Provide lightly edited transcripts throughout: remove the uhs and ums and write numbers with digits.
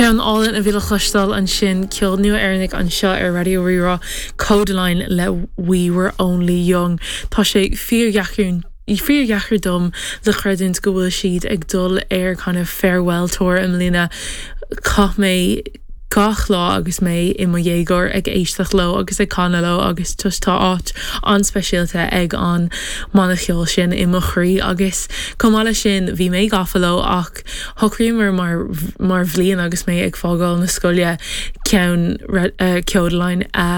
Ceann álainn a bhí le cloisteáil ansin, ceol nua Éireannach anseo ar Raidió Rí-Rá, Kodaline le We Were Only Young. Tá sé fíordheacair fíordheacair dom le creidiúint go bhfuil siad ag dul ar kind of farewell tour i mbliana. Chaith mé gach lá agus mé i mo dhéagóir ag éisteacht leo agus ag canadh leo agus just tá áit an-speisialta ag an mbanna ceoil sin i mo chroí agus chomh maith leis sin bhí mé gafa leo ach shocraíomar mar mar bhliain agus mé ag fágáil na scoile ceann Kodaline a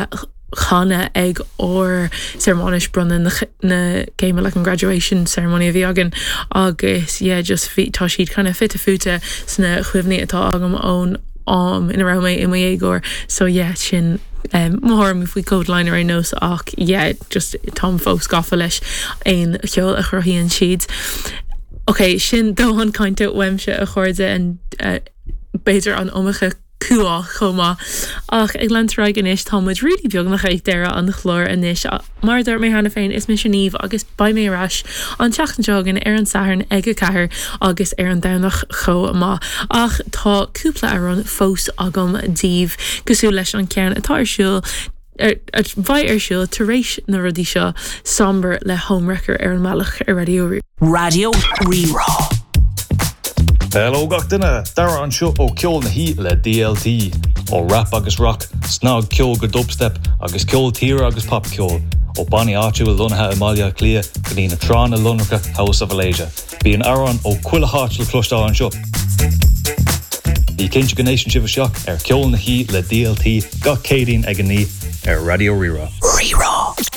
chanadh ag ár searmanais bronnadh na na céime like an graduation ceremony a bhí againn agus yeah just bhí tá siad kind of fite fuaite sna cuimhní atá agam ón am ina raibh mé i mo dhéagóir so yeah sin um, mo thuairim faoi Kodaline ar aon nós ach yeah just táim fós gafa leis an cheol a chruthaíonn siad. Ok, sin dóthain cainte uaimse a chairde an uh, b'fhéidir an iomarca cumhá chomh maith. Ach ag leanúint ar aghaidh anois, tá muid really beagnach ag deireadh an chláir anois. Mar a dúirt mé cheana féin, is mise Niamh agus beidh mé ar ais an tseachtain seo chugainn ar an Satharn ag 4 agus ar an Domhnach chomh maith. Ach tá cúpla amhrán fós agam daoibh, cosúil leis an ceann atá ar siúl a bheidh ar siúl tar éis na rudaí seo, Somber le Homewrecker ar an mbealach ar Raidió Raidió Rí-Rá. Hello gach duine, Dara anseo ó Ceol na hOíche le DLT. Ó rap agus rock, snagcheol go dubstep agus ceol tíre agus popcheol, ó bannaí áitiúil lonnaithe i mBaile Átha Cliath go dtí na tránna lonracha thuas sa Mhalaeisia. Bíonn amhráin ó chuile háit le cloisteáil anseo. Bí cinnte go n-éisteann sibh isteach ar Ceol na hOíche le DLT gach Céadaoin ag 9 ar Raidió Rí-Rá. Rí-Rá.